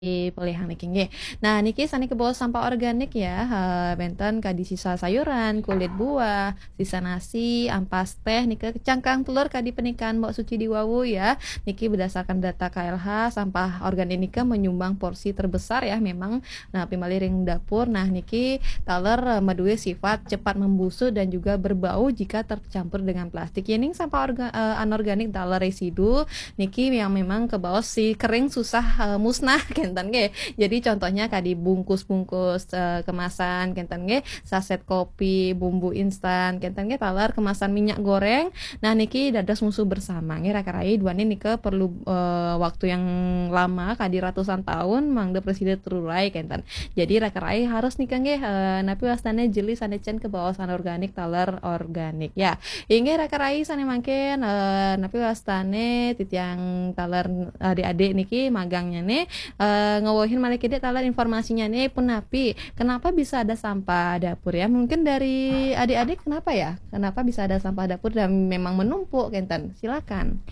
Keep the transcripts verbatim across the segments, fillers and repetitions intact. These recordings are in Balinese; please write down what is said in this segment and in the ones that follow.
Pelihang niki nggih. Nah, niki sané kebaos sampah organik ya, eh, bénten kadi sisa sayuran, kulit buah, sisa nasi, ampas téh, nika cangkang telur kadi pernikahan Mbok Suci di wau ya. Niki berdasarkan data K L H, sampah organik nika menyumbang porsi terbesar ya memang. Nah, napi malih ring dapur. Nah, niki taler, eh, madué sifat cepat membusuk dan juga berbau jika tercampur dengan plastik. Yéning sampah orga-, eh, anorganik taler residu, niki yang memang kebaos si kering susah, eh, musnah, kénten nggih. Jadi contohnya kadi bungkus-bungkus, eh, kemasan, kénten nggih, saset kopi, bumbu instan, kénten nggih, taler kemasan minyak goreng. Nah, niki dados musuh bersama nggih, raka rai, duaning nika perlu, eh, waktu yang lama, kadi ratusan tahun, mangda prasida terurai, kénten. Jadi raka rai harus nika nggih, eh, napi wastané jeli sané cén kebaos anorganik taler organik ya. Inggih raka rai sané mangkin, eh, napi wastané titiang taler adik-adik niki magangnyané, eh, ngewehin malih kidik taler informasinyané punapi. Kenapa bisa ada sampah dapur ya? Mungkin dari adik-adik kenapa ya? Kenapa bisa ada sampah dapur dan memang menumpuk kénten? Silakan.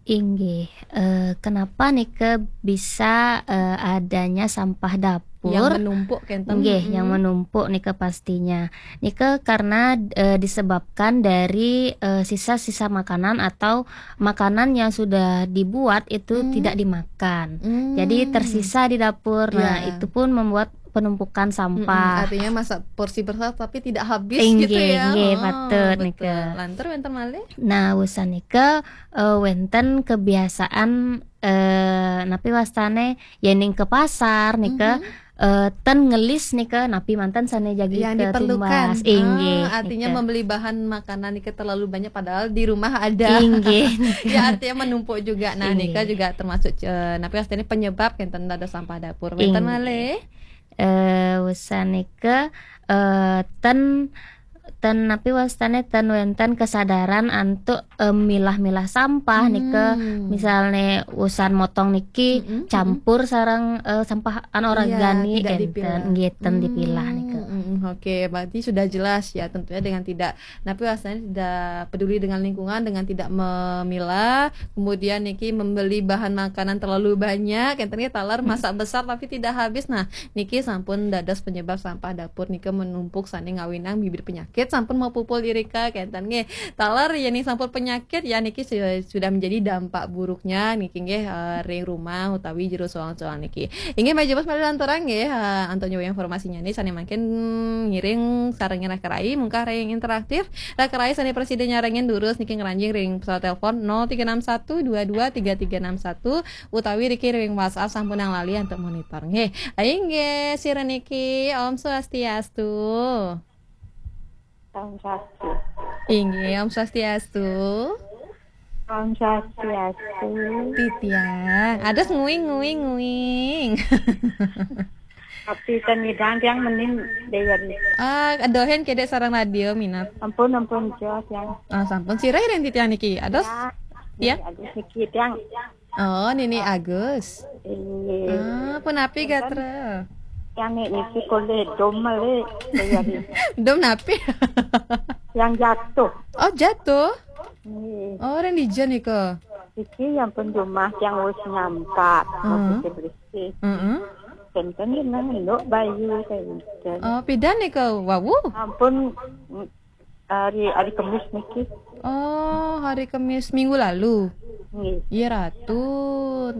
Inggih, eh, kenapa nika bisa, eh, adanya sampah dapur? Yang menumpuk kénten. Nggih, yang Mm-mm. menumpuk nika pastinya. Nika karena, eh, disebabkan dari, eh, sisa-sisa makanan atau makanan yang sudah dibuat itu Hmm. tidak dimakan. Hmm. Jadi tersisa di dapur. Nah, Ya. itu pun membuat penumpukan Mm-mm, sampah. Artinya masa porsi besar tapi tidak habis gitu Inggih, ya. Inggih, Oh, patut betul. Nika. Lantur wénten malih? Nah, wusan nika, eh, wénten kebiasaan, eh, napi wastané yéning ke pasar nika, Mhm. eh, ten ngelis nika napi manten sané jagi Yang diperlukan. Ketumbas. Inggih, Ah, artinya nika. Membeli bahan makanan nika terlalu banyak padahal di rumah ada. Inggih, nika. Ya, artinya menumpuk juga. Nah, Inggih. Nika juga termasuk, eh, napi wastané penyebab kénten ada sampah dapur. Wénten Inggih. Malih? Eh, wusan nika, eh, ten, ten napi wastané ten wénten kesadaran antuk, eh, milah-milah sampah nika. Hmm. Misalné wusan motong niki Mm-mm, mm-mm. campur sareng, eh, sampah anorganik Iya, tidak kénten, dipilah. Nggih, ten dipilah nika. Hmm, mm-mm, oke, berarti sudah jelas ya, tentunya dengan tidak, napi wastané tidak peduli dengan lingkungan, dengan tidak memilah, kemudian niki membeli bahan makanan terlalu banyak, kénten nggih, taler masak besar tapi tidak habis. Nah, niki sampun dados penyebab sampah dapur nika menumpuk sané ngawinang bibit penyakit sampun mapupul irika, kénten nggih. Taler yéning sampun penyakit ya niki su-, sudah menjadi dampak buruknya niki nggih, eh, ring rumah utawi jero soang-soang niki. Inggih, malih jebos malih lanturang nggih, eh, antuk nyuwun informasinyané sané mangkin ngiring sarengin raka rai, mungkah rai yang interaktif. Raka rai sané prasida nyarengin durus niki ngranjing ring pesawat telepon nol tiga enam satu dua dua tiga tiga enam satu utawi niki ring WhatsApp sampunang lali antuk monitor. Nggih. Inggih, sira niki Om Swastiastu. Om Swastiastu. Inggih, Om Swastiastu. Om Swastiastu. Titiang. Ados nguing, nguing, nguing. Tapi ten nyidang tiang mending Déwi. Ah, adohin kedék sareng radio minat. Ampun, ampun, jos tiang. Ah, sampun sira ring titiang niki. Ados? Ya. Ya? Agus niki tiang. Oh, Nini Agus. Inggih. Ah, punapi gatra? Tiang niki kolé dom malih Déwi. Dom napi? Yang jatuh. Oh, jatuh? Inggih. Oh, ring dija nika. Iki yang pun rumah tiang wis nyampat, Heeh. Masih bersih. Heeh. Kénten nang nduk bayu kénten. Oh, pidan nika wau? Ampun, hari, hari Kemis niki. Oh, hari Kemis minggu lalu. Nggih. Iya, Ratu.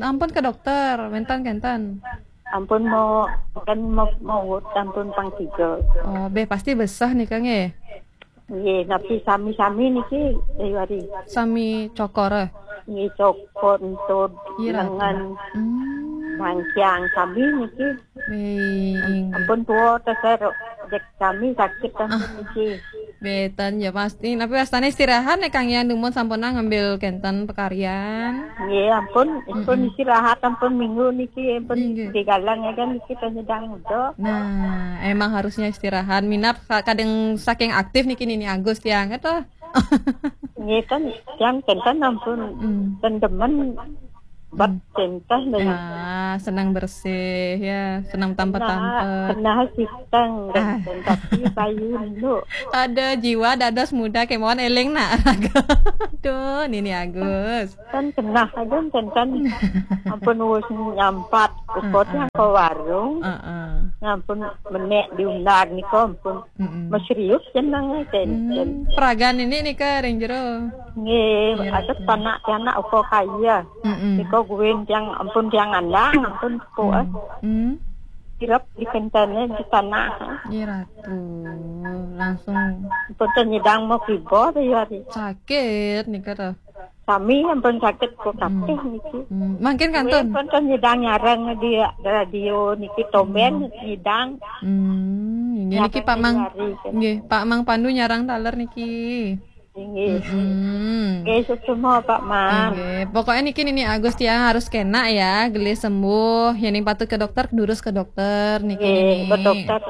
Ampun ke dokter, wénten kénten. Ampun mau, kan mau, mau ampun pang tiga. Oh, béh pasti besah nika nggih. Nggih, tapi sami-sami niki, Déwi. Sami cokor, eh? Nggih, cokor, entut, Iya, Ratu. Lengan, Hmm. Mangkiang sami niki. Wih, inggih. Ampun tua, terus saya ro-, jek sami sakit kan Ah. Niki. Béten ya pasti. Tapi wastané istirahat nih Kang Yan, dumun sampun ngambil kénten pekaryan. Nggih, ampun, ampun Mm-mm. istirahat, ampun minggu niki, ampun Inggih. Digalang ya kan niki penyedang udah. Nah, emang harusnya istirahat. Minap ka-, kadang saking aktif niki Nini Agus tiang, gitu. Nggih kan, tiang kénten ampun Hmm. ten demen Bat tentang dengan. Ah, senang bersih ya, senang tampet-tampet. Kenal sitang dan tapi bayu lu. Ada jiwa dados muda kemauan eling nak. Aduh, Nini Agus. Kan kenal aja tentang ampun wis nyampat ukot yang ke warung. Heeh. Ampun menek diundang nika ampun Mm-mm. meserius jenenge tenten. Hmm, peragan ini nih ke ring jero. Nggih, ada panak anak uko kaya. Mm-mm. Nika guin tiang ampun tiang andang ampun ko eh. Hmm. Kirap di kentene di tanah. Iya ratu. Langsung Ampun nyidang mau kibo ya hari. Sakit nih kata. Kami ampun sakit ko kabeh niki. Hmm. Mangkin kantun. Ampun nyidang nyarang di radio niki tomben nyidang. Hmm, nggih niki Pak Mang. Nggih, Pak Mang Pandu nyarang taler niki. Inggih. Hmm. Oke, semua Pak Mang. Nggih, pokoknya niki Nini Agus tiang harus kena ya, gelis sembuh. Yang patut ke dokter, durus ke dokter niki Nggih, Nini. Ke dokter.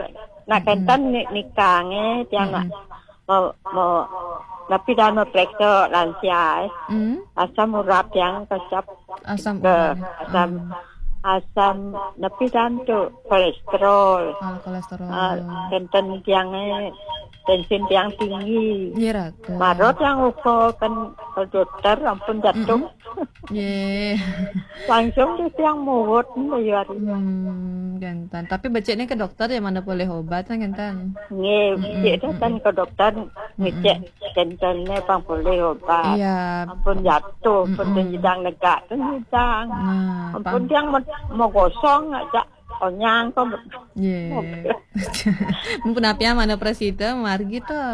Nah, kenten ni nikange tiang nak mau mau tapi dah mau periksa lansia eh. Hmm, Asam urat yang kecap asam ke urat. asam asam tapi dan tu kolesterol. Ah, kolesterol. Ah, kenten tiang eh, tensin tiang tinggi. Iya ratu. Marot yang uko kan ke dokter ampun jatuh. Nggih. Langsung di tiang muwut nih hari. Hmm, kenten. Tapi beciknya ke dokter ya mana boleh obat kan kenten. Nggih, cek datang ke dokter ngecek kentennya pang boleh obat. Iya. Ampun jatuh, ampun nyidang negak tu nyidang. Nah, Ampun tiang mau, mau gosong aja onyang kok. Iya. Mumpun api mana presida margi to.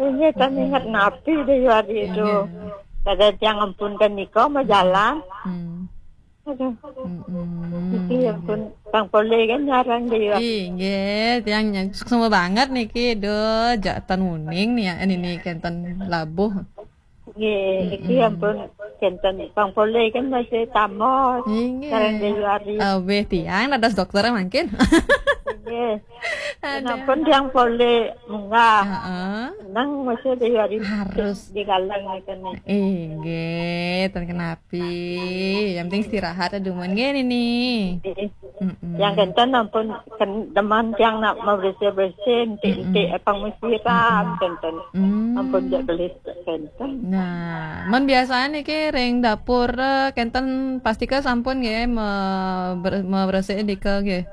Ini kan ingat napi deh hari itu. Kada tiang ampun kan niko mau jalan. Hmm. Aduh, Mm-mm. iki ampun pang boleh kan nyarang deh ya. Inggih, tiang nyang semua banget niki. Duh, jatan uning nih ya, ini nih kenten labuh. Nggih, iki ampun kenten pang boleh kan masih tamos. Inggih. Nyarang deh hari. Aweh tiang dados dokter mangkin. Nggih. Ampun tiang boleh munggah. Heeh. Nang masih deh hari Harus. Di galang nih kan nih. Inggih, ten kenapi. Yang penting istirahat aduh mun nggih Nini. Mm-mm. Yang kenten ampun ken, deman tiang nak mau bersih-bersih, enti-enti pang musiram kenten. Hmm. Ampun jak gelis kenten. Nah, mun biasanya niki ring dapur eh, kenten pasti ke sampun nggih me, ber, me bersih dike nggih.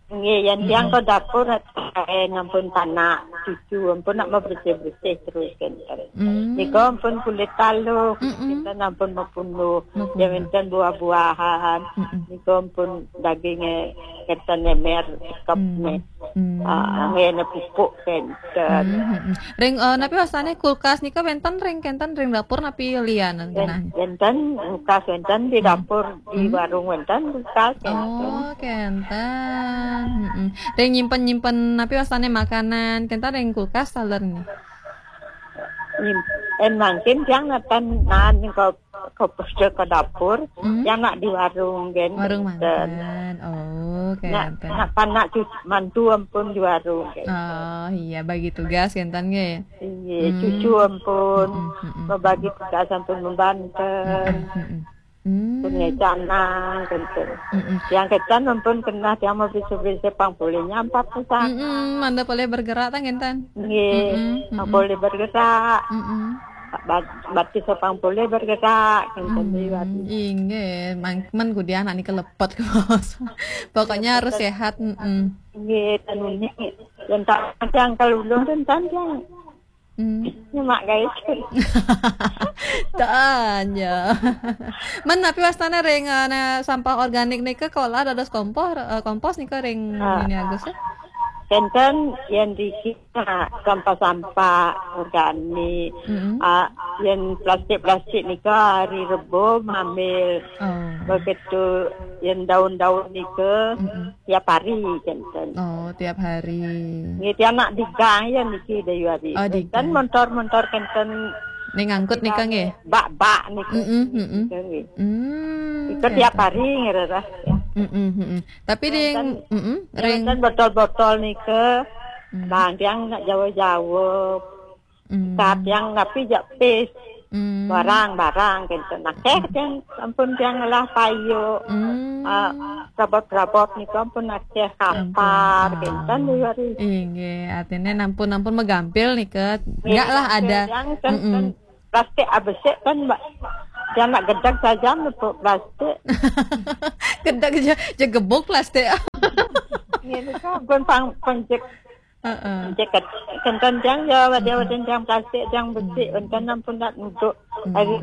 Nggih, yang tiang ke dapur eh, ampun panak cucu ampun nak mau bersih-bersih terus kenten. Hmm. Niko ampun kulit taluh, kita ampun mau punuh. Mau Ya enten buah-buahan. Niko ampun dagingnya kenten nemer kep nih. Hmm. Ah, ngene pupuk kenten. Hmm, hmm, hmm. Ring eh, napi wasane kulkas nika wenten ring kenten ring dapur napi lianan genah? Wenten kulkas wenten di dapur di warung wenten kulkas kenten. Oh, kenten. Mm-mm. Ring nyimpen-nyimpen napi wasane makanan kenten ring kulkas taler nih. Nyim- En mangkin tiang natan nan ke ke ke dapur, yang nak di warung kenten. Warung manten. Oh, Nak kenten. nak panak cucu mantu ampun di warung kenten. Oh, iya bagi tugas kenten nggih. Iya, cucu ampun, membagi tugas ampun membantu. Mm-mm. Hmm. Punya canang kenten. Mm-mm. Yang kenten ampun kena tiang mau bisa-bisa pang boleh nyampat pisang. Mm-mm, manda boleh bergerak tang kenten. Nggih, Mm-mm, pang boleh bergerak. Mm-mm. Bat- Batis pang boleh bergerak kenten liwat. Inggih, mang men kudu anak niki lepet kos. Pokoknya harus sehat. Mm-mm. Nggih, tenune. Yang tak yang kalau ulun tentang yang Hmm. nyemak guys. Tanya. Men napi wastane ring eh, sampah organik nika kolah dados kompor eh, kompos nika ring ini Agus ya? Kenten yang dikit sampah-sampah organik. Mm-mm. Ah, yang plastik-plastik nika hari Rebo mamil. Oh. Begitu yang daun-daun nika Mm-mm. tiap hari kenten. Oh, tiap hari. Nggih tiang nak digang ya niki Dayu Ari. Oh, digang. Kan montor-montor kenten Ning ngangkut nika nggih. Bak-bak niki. Mm-mm, mm-mm. Nggih. Hmm. Itu tiap hari ngerasa. Mm-mm, mm-mm. Tapi ring mm-mm, ring Kan botol-botol nika. Nah, yang nak jauh-jauh. mm. Saat yang napi jak pis. Hmm. Barang-barang kenten. Akeh kenten ampun tiang ngelah payu. Hmm. Ah, rabot-rabot niku ampun akeh, kapar kenten di hari. Inggih, artinya nampun-nampun megampil nika. Enggak lah ada. Yang kenten plastik abesik kan, Mbak. Dia nak gedeg saja nepuk plastik. Gedeg je, je gebuk plastik. Ngene kan pun pang penjek. Heeh. Penjek ket-, kenten tiang ya, wadah-wadah tiang plastik, tiang besik, kenten ampun nak nuduk hari,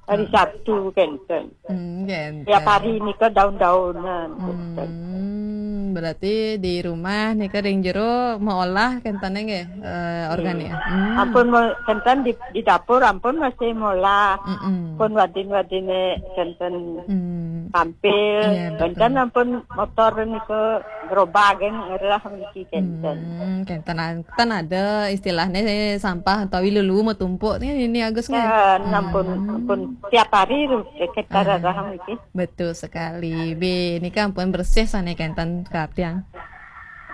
hari Sabtu kenten. Hmm, kenten. Tiap hari nika daun-daunan kenten. Hmm, berarti di rumah nika ring jero meolah kenten nggih, eh, organ ya. Hmm. Ampun mo-, kenten di, di dapur ampun masih molah. Mm-mm. Pun wadin-wadine kenten Hmm. Tampil, iya, betul. Kenten ampun motor nika gerobak ngelah mriki kenten. Hmm, kenten an-, kan ada istilahnya sampah utawi lulu metumpuk nih ini Agus nggih. Ya, ampun, hmm, ampun tiap hari ru-, kita rarah mriki. Betul sekali. Be, ini kan ampun bersih sana kenten katiang.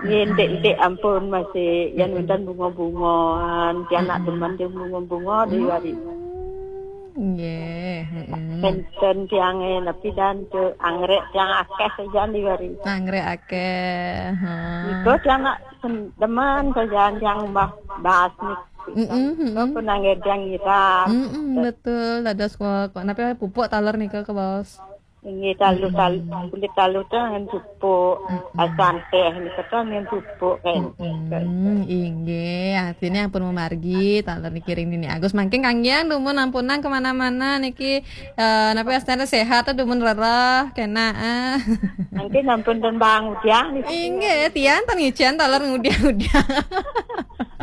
Nggih, ndik-ndik ampun masih yang wenten bunga-bungaan, tiang nak demen tiang bunga-bunga di hari. Hmm, nggih, heeh. Kenten tiang, eh, napi dan tu anggrek tiang akeh saja di hari. Anggrek akeh, ha. Nika tiang nak sen-, demen saja tiang mbah bas ni. Mm-mm, mm-mm. Nika pun anggrek tiang ngiram. Mm-mm, betul. Ada sekolah, kok, napi pupuk taler nika ke bos? Inggih, talu, talu, kulit talu tu dengan pupuk. Mm-mm. Asam teh ni kata dengan pupuk kan. Mm-mm. Inggih, artinya ampun memargi, taler niki ring Nini Agus. Mangkin kanggian dumun ampunang kemana-mana niki, eh, napi astana sehat tu dumun rereh, kena, ah. Mangkin ampun dan bang udiang niki. Inggih, tiang tan ngicen taler ngudiang-udiang.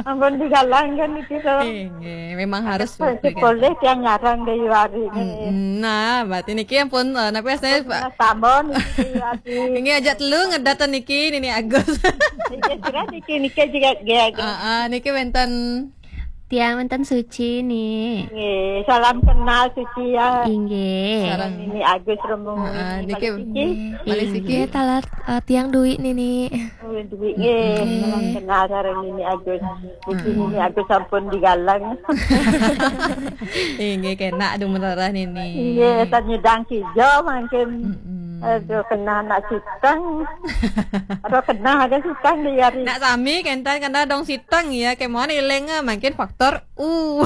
Ampun digalang kan niki, so. Inggih, memang harus. Boleh tiang ngarang dari wari ni. Mm-mm. Nah, berarti niki ampun, eh, napi astana, Pak? Tambon niki wari. Inggih, aja telu ngedat niki, Nini Agus. Niki kira niki, niki juga gaya. Ah, ah, niki wenten. Tiang wenten Suci ni. Nggih, salam kenal Suci ya. Inggih. Sareng Nini Agus Remung. Ah, ah, niki. Malih siki. Malih siki. Inggih, taler, eh, tiang Dwi Nini. Oh, Dwi nggih. Nggih. Salam kenal sareng Nini Agus. Mungkin Nini Agus sampun digalang. Inggih, kena aduh merarah Nini. Nggih, tan nyidang kijo mangkin. Mm-mm. Aduh, kena nak siteng. Aduh, kena ada siteng di hari. Nak sami kenten kena dong siteng ya, kemon iling, eh, mangkin faktor U.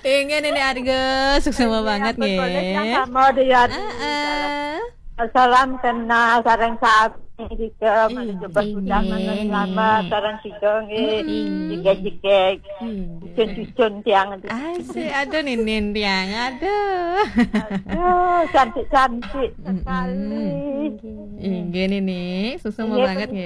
Inggih Nini Agus, suksma banget nggih. Boleh yang sama di hari. Heeh. Salam kenal sareng sami juga, ih, malah coba sudah inggih, menerima sareng sida nggih. Mm-mm. Jegeg-jegeg. Inggih. Cucun-cucun tiang. Asik, aduh Ninin tiang, aduh. Aduh, cantik-cantik sekali. Mm-mm. Inggih Nini, suksma banget nggih.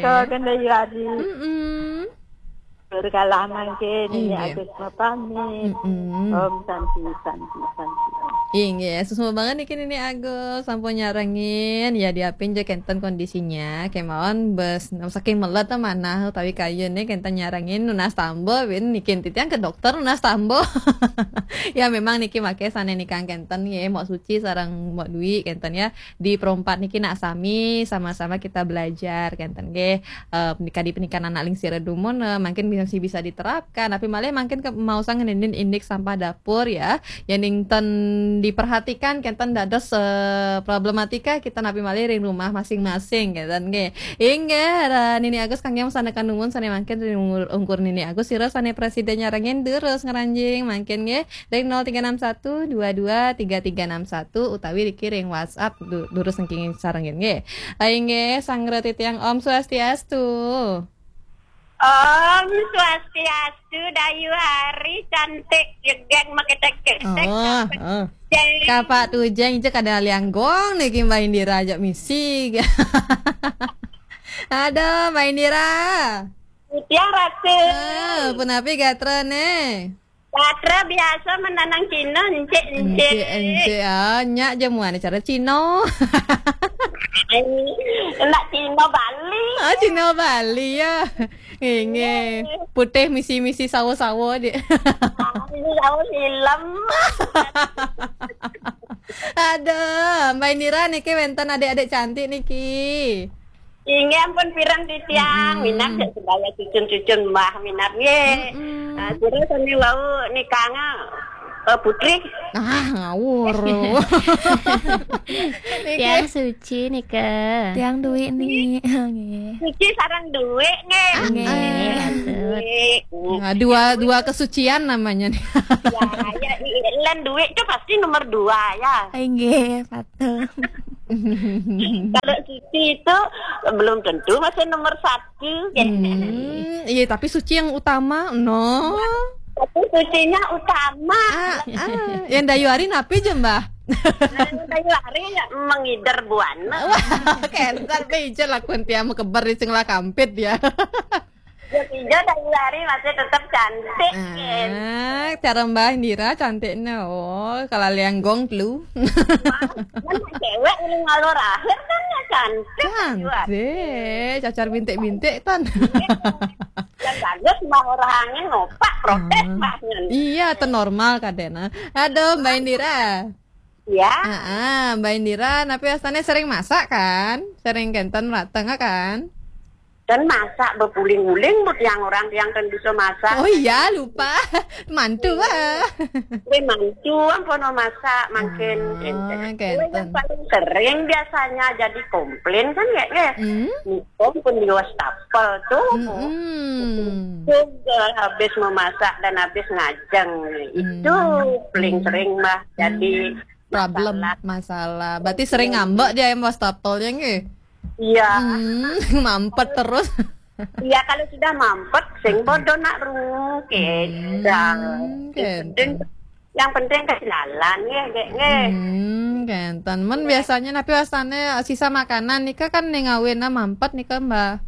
Inggih, Nini Agus mapamit. Mm-mm. Om Santi, Santi, Santi. Inggih, suksma banget niki Nini Agus, sampun nyarengin, ya diapin je kenten kondisinya, kemawon bes, saking melet manah utawi kayun nih kenten nyarengin nunas tamba, bin niki titiang ke dokter nunas tamba. Ya memang niki make sane nikang kenten nggih, Mbok Suci sareng Mbok Dwi kenten ya. Di perempat niki nak sami sama-sama kita belajar kenten nggih. Eh, kadi pendidikan anak lingsir dumun, eh, mungkin bisa, bisa diterapkan, tapi malah mungkin ke, mau sang ngenenin indik sampah dapur ya. Yang ningten diperhatikan kenten dados, eh, problematika kita napi malih ring rumah masing-masing kenten nggih. Inggih, ra Nini Agus kangge masanekan dumun sane mangkin ring ungkur, ungkur Nini Agus sira sane presiden nyarengin durus ngranjing mangkin nggih. Ring nol tiga enam satu dua dua tiga tiga enam satu utawi dikiring WhatsApp du-, durus niki sarengin nggih. Inggih, sangra titiang Om Swastiastu. Om Swastiastu, Dayu Hari cantik, jegeg, maketek-ketek. Oh, oh. Kapak tujeng je kada lianggong niki Mbak Indira ajak misi. Aduh, Mbak Indira. Titiang rasa. Ah, punapi gatra ne? Gatra biasa menanang Cina, encik-encik. Encik-encik, ah, nyak jamuan cara Cina. Nak Cina Bali. Ah, Cina Bali ya. Inggih. Putih misi-misi sawo-sawo dik. Ini sawo film. Aduh, Mbak Indira niki wenten adik-adik cantik niki. Inggih ampun pireng titiang, minab sedaya cucun-cucun Mbah minab nggih. Ah, sira sami wau nikanga, eh, Putri. Ah, ngawur. Tiang Suci nika. Tiang Dwi ni. Nggih. Suci sareng Dwi nggih. Ah, nggih. Nggih. Nah, dua, dua kesucian namanya nih. Ya, ya, i-, lan Dwi itu pasti nomor dua ya. Inggih, patut. Kalau Suci itu belum tentu masih nomor satu, ya. Hmm, iya, tapi Suci yang utama, no. Tapi Sucinya utama. Ah, ah. Yang Dayu Ari napi je, Mbah? Nah, yang Dayu Ari ya mengider buana. Wah, kental be ijo lakun tiang mekeber di sing lah kampit ya. Ya, ijo Dayu Ari masih tetap cantik, kan? Ah, cara Mbah Indira cantiknya. Oh, kalau liang gong telu. Kan cewek ini ngalor akhir kan ya cantik, Dayu Ari. Cantik, cacar bintik-bintik tan. Yang bagus Mbah orang angin ngopak protes Mbah nyen. Iya, itu normal kadena. Aduh, Mbah Indira. Ya. Ah, ah, Mbah Indira, tapi astane sering masak kan? Sering kenten rateng kan? Dan masak bepuling-uling, bu, tiang orang tiang kan bisa masak. Oh iya, lupa. Mantu ah. Ini mantu ampun masak mungkin. Ah, kenten. Yang paling sering biasanya jadi komplain kan ya, ya. Hmm? Nikom pun di wastafel tuh. Mm-mm. Juga habis memasak dan habis ngajeng. Itu paling sering, Mbah. Jadi problem, masalah. Berarti sering ngambek dia yang wastafel ya nggih? Iya. Hmm, mampet terus. Iya, kalau sudah mampet, sing bodoh nak rungu, kecang. Hmm, kenten. Yang penting ke jalan, ya, Gek, nggih. Hmm, kenten. Men biasanya napi wastane sisa makanan nika kan ning awena mampet nika, Mbah.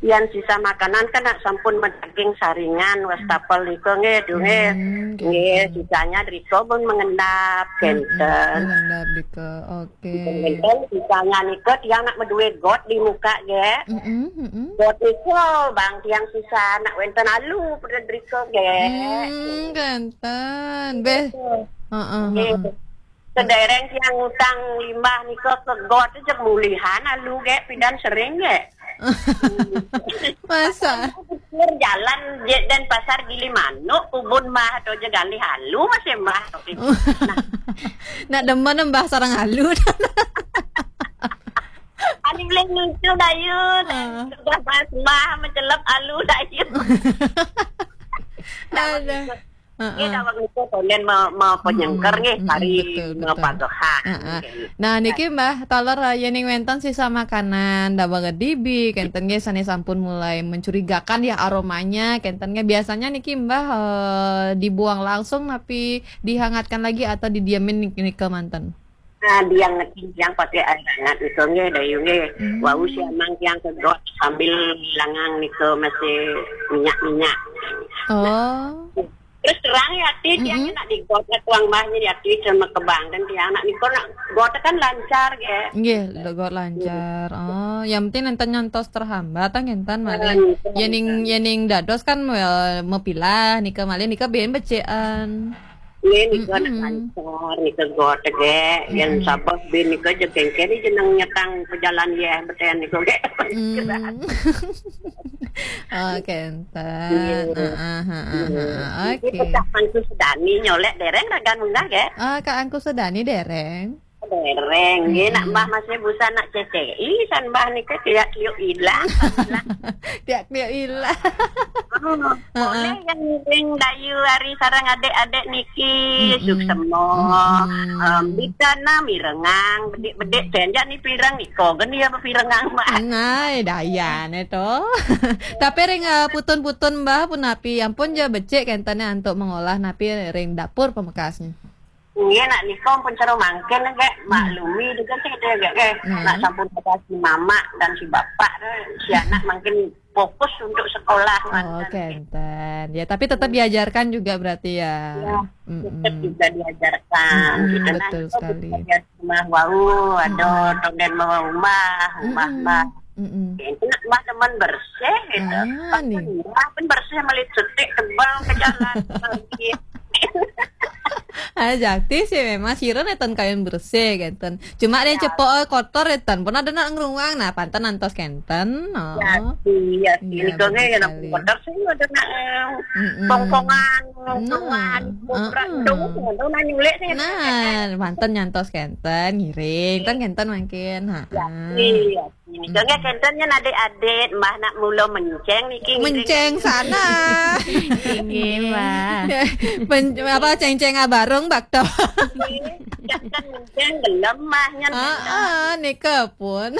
Yang sisa makanan kan nak sampun daging saringan, wastafel nika, nggih, duh, nggih. Hmm, kenten. Nggih, sisanya driko pun mengendap, kenten. Mengendap driko. Oke. Wenten sisanya nika tiang nak meduwe got di muka ge. Mm-mm, mm-mm. Got nika bang tiang sisa nak wenten alu pada driko ge. Hmm, kenten. Beh. Heeh, heeh. Sedereng tiang utang limbah nika ke got aja mulihan alu ge pidan sering ge. Masa? Pinggir jalan je dan pasar Gili Manuk, kubun mah atau je galih alu masih mah. Nak demen mbah sarang alu. Ani boleh lucu dayu. Sudah pas mah mencelep alu dayu. Ada. Heeh. Nggih, daweg nika konden me-, me-, penyengker nggih, mm-mm, kari betul, betul. Mepagehan. Heeh. Nggih. Nah, niki Mbah, taler, eh, yening wenten sisa makanan, daweg dibi, kenten nggih sane sampun mulai mencurigakan ya aromanya, kenten nggih biasanya niki Mbah, eh, dibuang langsung napi dihangatkan lagi atau didiemin nik-, nika manten? Nah, tiang ngeting tiang pakai air hangat nika nggih, dayu nggih. Hmm. Wau siamang tiang ke got sambil langang nika masih minyak-minyak. Oh. Terus terang ya, Ti, tiang nak di got, nak tuang mbahnya ya, Ti, sama kebang. Dan tiang nak nika nak got kan lancar, ya. Nggih, got lancar. Oh, yang penting enten nyantos terhambat, ah, ngenten malih. Yening, yening dados kan, eh, mepilah, nika malih, nika ben becekan. Nggih, nika nak lancar, nika got, ge. Yang sabab ben nika je kengken ni jeneng nyetang pejalan, ya, beten nika, ge. Hmm. Oh, kenten. Iya. Heeh, heeh, heeh. Ini oke. Pecah Angku Sedani nyolek dereng ragan munggah, ge? Ah, Kak Angku Sedani dereng. Dereng, nggih, nak Mbah masih busan nak C C I, san Mbah nika tiak kliuk ilang. Tiak kliuk ilang. Oh, boleh yang, yang dayu ari sarang adik-adik niki, suksema. Em, bidana mirengang, bedik-bedik senjak ni pirang nika, gen ya pirengang, Mbah. Nai, dayane to. Tapi ring, eh, putun-putun, Mbah, punapi, ampun je becik kentene antuk mengolah napi ring dapur pamekasnya. Nggih, nak nika pun cara mangkin, nggih. Maklumi juga sih, nggih, nggih. Nak sampun ada si mamak dan si bapak tu, si anak mungkin fokus untuk sekolah, oh, mantan, nggih. Kenten. Ya, tapi tetap diajarkan juga berarti ya. Ya, tetap juga diajarkan. Mm-mm, gitu, nah, betul sekali. Rumah wau, ada tonden rumah, rumah, mm-mm, mbah. Mm-mm. Itu nak mbah teman bersih, gitu. Ah, pas nih. Mbah pun bersih, melihat setik, tebal ke jalan, lagi. Ah, Jakti sih memang sira nénten kayun bersih kénten. Cuma ada yang cepok, eh, kotor nénten. Pernah ada nak ngeruang, nah panten nyantos kénten. Oh. Iya, iya, Iya, nika bagus yang sekali. kotor sih ada nak Mm-mm. pongkongan, Nah, pongkongan, kuburan heeh. dong, dong nanya nyulek sih. Nah, panten nyantos kénten, ngiring, kan kénten mangkin. Ha. Iya, ini dong ya kénten nya adik-adik, mbah nak mula menceng niki ngiring. Menceng sana. Inggih, Mbah. Pen, apa ceng-ceng abarung bakto. Jangan menceng gelem mbah nya. Ah, ah, nika pun.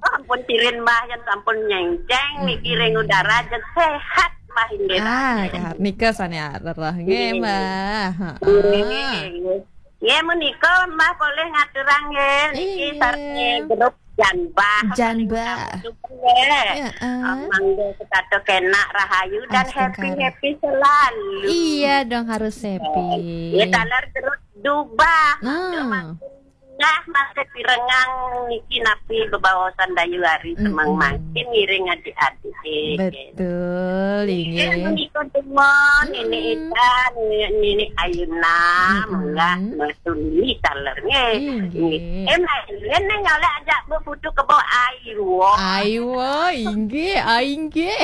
Ampun tirin mbah nya sampun nyenceng niki ring udara jan sehat mbah inggih. Ah, nika sané arep nggih, Mbah. Heeh. Nggih. Nggih menika mbah boleh ngaturang nggih niki Iya. sareng grup Janbah. Janbah. Nggih. Ya, ah. Mangga tetap kenak rahayu dan Astungkara. Happy-happy selalu. Iya dong, harus happy. Ya taler terus dubah. Nah, Nah, masih pirengang niki napi bebaosan dayu hari Mm-mm. semang mangkin ngiring adik-adik. Betul, Eh, inggih. menika semua Nini Mm-mm. Ida, Nini, Nini Ayuna, Mm-mm. munggah metu Nini taler nggih. Inggih. Eh, main-main nyolek ajak bu putu kebo ayu. Ayo, inggih, ah, inggih.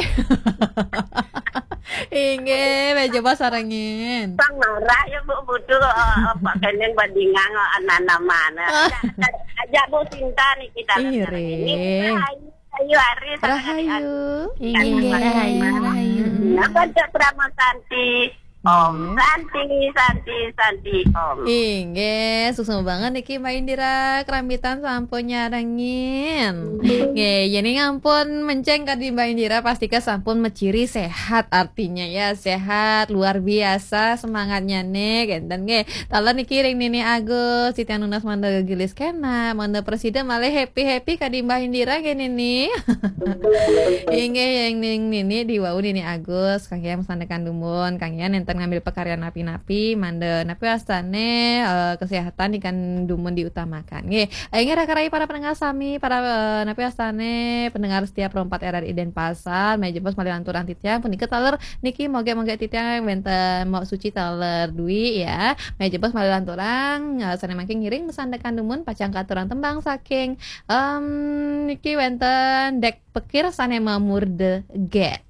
Inggih, meja bos sarengin. Sang marah ya bu putu, eh, apa kenen bandingan, eh, anak-anak mana. Ajak, ajak bu Sinta niki taler Iya, sareng Rek. ini. Ayu, ayu hari sareng Rahayu. Inggih, rahayu, rahayu. Napa cak Prama Santi? Om Nggih. Santi, Santi, Santi, Om. Inggih, suksma banget niki Mbak Indira, kerambitan sampun nyarengin. Nggih, jadi ngampun menceng kadi Mbak Indira, pastika sampun meciri sehat, artinya ya sehat, luar biasa semangatnya nih, genten nggih. Taler niki ring Nini Agus, titiang nunas mangda gegilis kenak, mangda presida malih happy-happy kadi Mbak Indira nggih Nini. Inggih, yang ning Nini di wau Nini Agus, kanggihan masandekan dumun, kanggihan nénten ngambil pakaryan napi-napi, mangda napi wastane, eh, kesehatan ikan dumun diutamakan. Nggih, inggih raka-raka para pendengar sami, para, eh, napi wastane pendengar setia Pro empat R R I Denpasar, meja bos malih lanturang titiang, punika taler niki moga-moga titiang wénten Mbok Suci taler Dwi ya. Meja bos malih lanturang, eh, sané mangkin ngiring masandekan dumun pacang katurang tembang saking, em, niki wénten Dek Pekir sané mamurda Get.